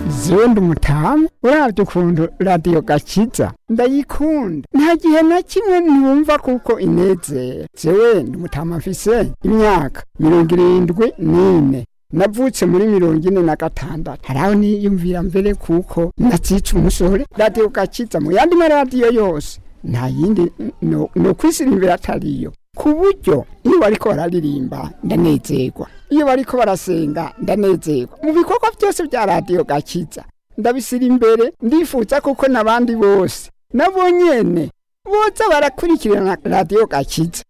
Zewe umutamu uravye ukuntu Radiyo Gakiza ndayikunda, nta gihe na kimwe ntumva kuko inezera. Jewe ndi umutama, mfise imyaka 74, navutse muri 46. Haraho niyumvira mbere kuko nacica umusore. Radiyo Gakiza mu yandi maradiyo yose nta yindi no kwisirimbira atariyo, ku buryo iyo bariko bararirimba ndanezerwa, iyo bariko barasenga ndanezerwa. Mu bikorwa byose bya Radiyo Gakiza ndabisira imbere, ndifuza kuko n'abandi bose nabo nyene boza barakurikirana Radiyo Gakiza.